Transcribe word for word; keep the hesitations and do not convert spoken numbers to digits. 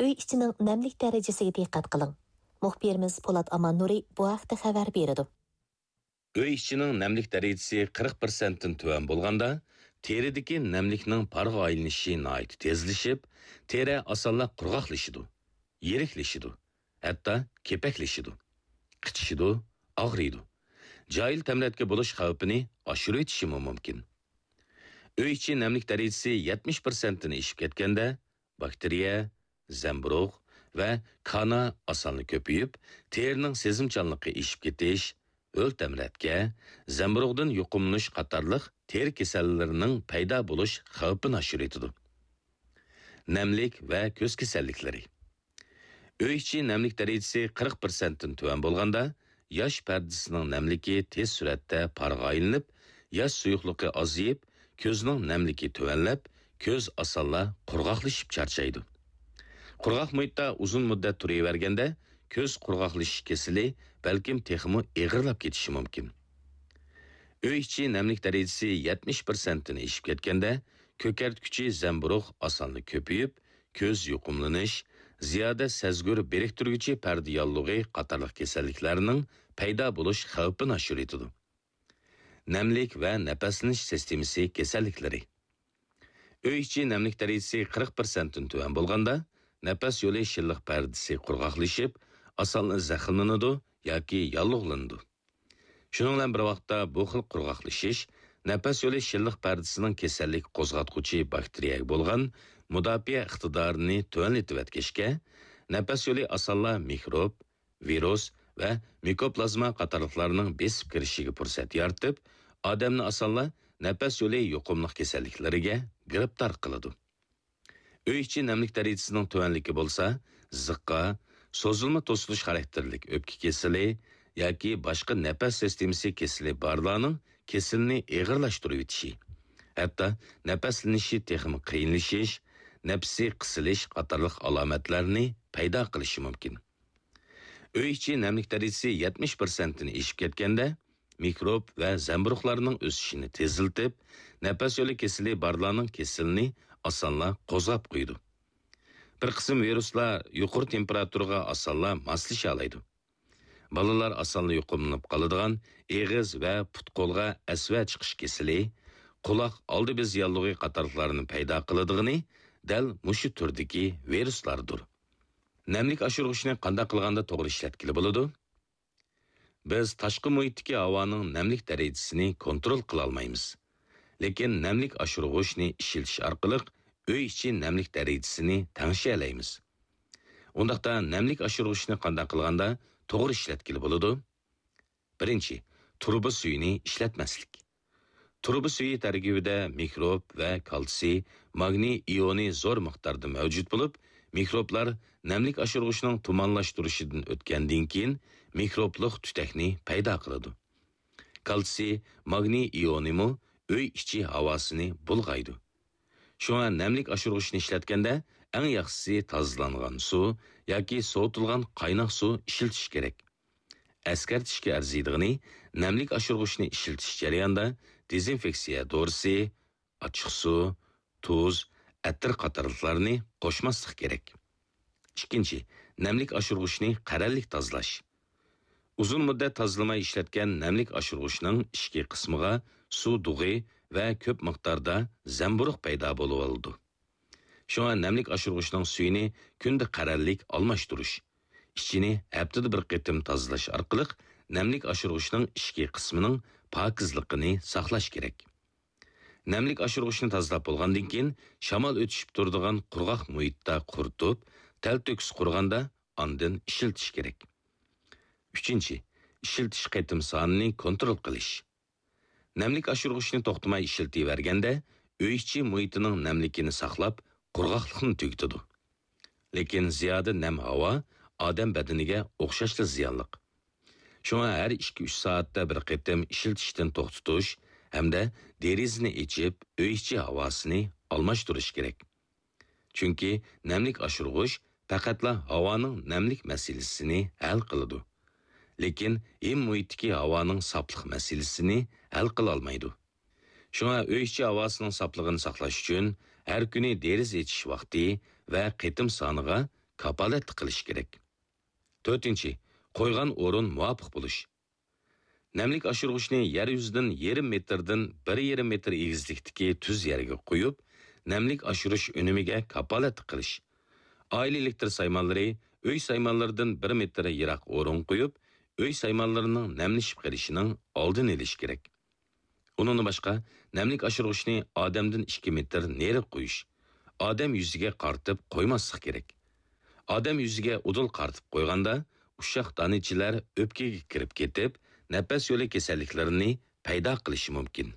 ئۆي ئىچىنىڭ نەملىك دەرىجىسىگە دىققەت قىلىڭ. مۇخبىرىمىز پولات ئاماننۇرى بۇ ھەقتە خەۋەر بېرىدۇ. ئۆي ئىچىنىڭ نەملىك دەرىجىسى قىرىق پىرسەنتتىن تۆۋەن بولغاندا، تېرىدىكى نەملىكنىڭ پارغا ئايلىنىشى ناھايىتى تېزلىشىپ، تېرە ئاسانلا قۇرغاقلىشىدۇ، يىرىكلىشىدۇ، ھەتتا كېپەكلىشىدۇ، قىچىشىدۇ، ئاغرىيدۇ. جاھىل تەمرەتكە بولۇش خەۋپىنى ئاشۇرۇۋېتىشىمۇ مۇمكىن. ئۆي ئىچى نەملىك دەرىجىسى يەتمىش پىرسەنتتىن ئېشىپ كەتكەندە، باكتېرىيە، زەمبۇرۇغ ۋە كانا ئاسانلا كۆپىيىپ، تېرىنىڭ سېزىمچانلىقى ئېشىپ كېتىش، ھۆل تەمرەتكە، زەمبۇرۇغدىن يۇقۇملىنىش قاتارلىق تېرە كېسەللىرىنىڭ پەيدا بولۇش خەۋپىنى ئاشۇرۇۋېتىدۇ. نەملىك ۋە كۆز كېسەللىكلىرى. ئۆي ئىچى نەملىك دەرىجىسى قىرىق پىرسەنتتىن تۆۋەن بولغاندا، ياش پەردىسىنىڭ نەملىكى تېز سۈرئەتتە پارغا ئايلىنىپ، ياش سۇيۇقلۇقى ئازىيىپ، كۆزنىڭ نەملىكى تۆۋەنلەپ، كۆز ئاسانلا قۇرغاقلىشىپ چارچايدۇ. قۇرغاق مۇھىتتا ئۇزۇن مۇددەت تۇرۇۋەرگەندە، كۆز قۇرغاقلىشىش كېسىلى بەلكىم تېخىمۇ ئېغىرلاپ كېتىشى مۇمكىن. ئۆي ئىچى نەملىك دەرىجىسى يەتمىش پىرسەنتتىن ئېشىپ كەتكەندە، كۆكەرتكۈچى زەمبۇرۇغ ئاسانلا كۆپىيىپ، كۆز يۇقۇملىنىش، زىيادە سەزگۈر بىرىكتۈرگۈچى پەردە ياللۇغى قاتارلىق كېسەللىكلەرنىڭ پەيدا بولۇش خەۋپىنى ئاشۇرۇۋېتىدۇ. نەملىك ۋە نەپەسلىنىش سىستېمىسى كېسەللىكلىرى. ئۆي ئىچى نەملىك دەرىجىسى قىرىق پىرسەنتتىن تۆۋەن بولغاندا، نەپەس يولى شىللىق پەردىسى قۇرغاقلىشىپ، ئاسانلا زەخىملىنىدۇ ياكى ياللۇغلىنىدۇ. شۇنىڭ بىلەن بىر ۋاقىتتا، بۇ خىل قۇرغاقلىشىش نەپەس يولى شىللىق پەردىسىنىڭ كېسەللىك قوزغاتقۇچى باكتېرىيەگە بولغان مۇداپىئە ئىقتىدارىنى تۆۋەنلىتىۋەتكەچكە، نەپەس يولى ئاسانلا مىكروب، ۋىرۇس ۋە مىكوپلازما قاتارلىقلارنىڭ بېسىپ كىرىشىگە پۇرسەت يارىتىپ، ئادەمنى ئاسانلا نەپەس يولى يۇقۇملۇق كېسەللىكلىرىگە گىرىپتار قىلىدۇ. ئۆي ئىچى نەملىك دەرىجىسىنىڭ تۆۋەنلىكى بولسا، زىققا، سوزۇلما توسۇلۇش خاراكتېرلىك ئۆپكە كېسىلى ياكى باشقا نەپەس سىستېمىسى كېسىلى بارلارنىڭ كېسىلىنى ئېغىرلاشتۇرۇۋېتىشى، ھەتتا نەپەسلىنىشى تېخىمۇ قىيىنلىشىش، نەپىسى قىسىلىش قاتارلىق ئالامەتلەرنى پەيدا قىلىشى مۇمكىن. ئۆي ئىچى نەملىك دەرىجىسى يەتمىش پىرسەنتتىن ئېشىپ كەتكەندە، مىكروب ۋە زەمبۇرۇغلارنىڭ ئۆسۈشىنى تېزلىتىپ، نەپەس يولى كېسىلى بارلارنىڭ كېسىلىنى ئاسانلا قوزغاپ قويىدۇ. بىر قىسىم ۋىرۇسلار يۇقىرى تېمپېراتۇرىغا ئاسانلا ماسلىشالايدۇ. بالىلار ئاسانلا يۇقۇملىنىپ قالىدىغان ئېغىز ۋە پۇت-قولغا ئەسۋە چىقىش كېسىلى، قۇلاق ئالدى بېزى ياللۇغى قاتارلىقلارنى پەيدا قىلىدىغىنى دەل مۇشۇ تۈردىكى ۋىرۇسلاردۇر. نەملىك ئاشۇرغۇچنى قانداق قىلغاندا توغرا ئىشلەتكىلى بولىدۇ؟ بىز تاشقى مۇھىتتىكى ھاۋانىڭ نەملىك دەرىجىسىنى كونترول قىلالمايمىز. لېكىن نەملىك ئاشۇرغۇچنى ئىشلىتىش ئارقىلىق ئۆي ئىچى نەملىك دەرىجىسىنى تەڭشىيەلەيمىز. ئۇنداقتا نەملىك ئاشۇرغۇچنى قانداق قىلغاندا توغرا ئىشلەتكىلى بولىدۇ؟ بىرىنچى، تۇرۇبا سۈيىنى ئىشلەتمەسلىك. تۇرۇبا سۈيى تەركىبىدە مىكروب ۋە كالتسىي، ماگنىي ئىيونى زور مىقداردا مەۋجۇت بولۇپ، مىكروبلار نەملىك ئاشۇرغۇچنىڭ تۇمانلاشتۇرۇشىدىن ئۆتكەندىن كېيىن، مىكروبلۇق تۈتەكنى پەيدا قىلىدۇ. كالتسىي، ماگنىي ئىيونىمۇ ئۆي ئىچى ھاۋاسىنى بۇلغايدۇ. شۇڭا نەملىك ئاشۇرغۇچنى ئىشلەتكەندە، ئەڭ ياخشىسى تازىلانغان سۇ ياكى سوۋۇتۇلغان قايناق سۇ ئىشلىتىش كېرەك. ئەسكەرتىشكە ئەرزىيدىغىنى، نەملىك ئاشۇرغۇچنى ئىشلىتىش جەريانىدا دېزىنفېكسىيە دورىسى، ئاچچىقسۇ، تۇز، ئەتىر قاتارلىقلارنى قوشماسلىق كېرەك. ئىككىنچى، نەملىك ئاشۇرغۇچنى قەرەللىك تازىلاش. ئۇزۇن مۇددەت تازىلىماي ئىشلەتكەن نەملىك ئاشۇرغۇچنىڭ ئىچكى قىسمىغا سۇ دۇغى ۋە كۆپ مىقداردا زەمبۇرۇغ پەيدا بولۇۋالىدۇ. شۇڭا نەملىك ئاشۇرغۇچنىڭ سۈيىنى كۈندە قەرەللىك ئالماشتۇرۇش، ئىچىنى ھەپتىدە بىر قېتىم تازىلاش ئارقىلىق نەملىك ئاشۇرغۇچنىڭ ئىچكى قىسمىنىڭ پاكىزلىقىنى ساقلاش كېرەك. نەملىك ئاشۇرغۇچنى تازىلاپ بولغاندىن كېيىن، شامال ئۆتۈشۈپ تۇرىدىغان قۇرغاق مۇھىتتا قۇرۇتۇپ، تەلتۆكۈس قۇرغاندا ئاندىن ئىشلىتىش كېرەك. ئۈچىنچى، ئىشلىتىش قېتىم سانىنى كونترول قىلىش. نەملىك ئاشۇرغۇچنى توختىماي ئىشلىتىۋەرگەندە، ئۆي ئىچى مۇھىتىنىڭ نەملىكىنى ساقلاپ، قۇرغاقلىقنى تۈگىتىدۇ. لېكىن زىيادە نەم ھاۋا ئادەم بەدىنىگە ئوخشاشلا زىيانلىق. شۇڭا ھەر ئىككى-ئۈچ سائەتتە بىر قېتىم ئىشلىتىشتىن توختىتىش ھەمدە دېرىزىنى ئېچىپ، ئۆي ئىچى ھاۋاسىنى ئالماشتۇرۇش كېرەك. چۈنكى نەملىك ئاشۇرغۇچ پەقەتلا ھاۋانىڭ نەملىك مەسىلىسىنى ھەل قىلىدۇ، لېكىن ھىم مۇھىتتىكى ھاۋانىڭ ساپلىق مەسىلىسىنى ھەل قىلالمايدۇ. شۇڭا ئۆي ئىچى ھاۋاسىنىڭ ساپلىقىنى ساقلاش ئۈچۈن ھەر كۈنى دېرىزە ئېچىش ۋاقتى ۋە قېتىم سانىغا كاپالەتلىك قىلىش كېرەك. تۆتىنچى، قويغان ئورۇن مۇۋاپىق بولۇش. نەملىك ئاشۇرغۇچنى يەر يۈزىدىن يېرىم مېتىردىن بىر يېرىم مېتىر ئېگىزلىكتىكى تۈز يەرگە قويۇپ، نەملىك ئاشۇرۇش ئۈنۈمىگە كاپالەتلىك قىلىش. ئائىلە ئېلېكتر سايمانلىرى ئۆي سايمانلىرىدىن بىر مېتىر يىراق ئورۇنغا قويۇپ، ئۆي سايمانلىرىنىڭ نەملىشىپ قېلىشىنىڭ ئالدىنى ئېلىش كېرەك. ئۇنىڭدىن باشقا، نەملىك ئاشۇرغۇچنى ئادەمدىن ئىككى مېتىر نېرىغا قويۇش، ئادەم يۈزىگە قارىتىپ قويماسلىق كېرەك. ئادەم يۈزىگە ئۇدۇل قارىتىپ قويغاندا، ئۇششاق دانىچىلەر ئۆپكىگە كىرىپ كېتىپ، نەپەس يولى كېسەللىكلىرىنى پەيدا قىلىشى مۇمكىن.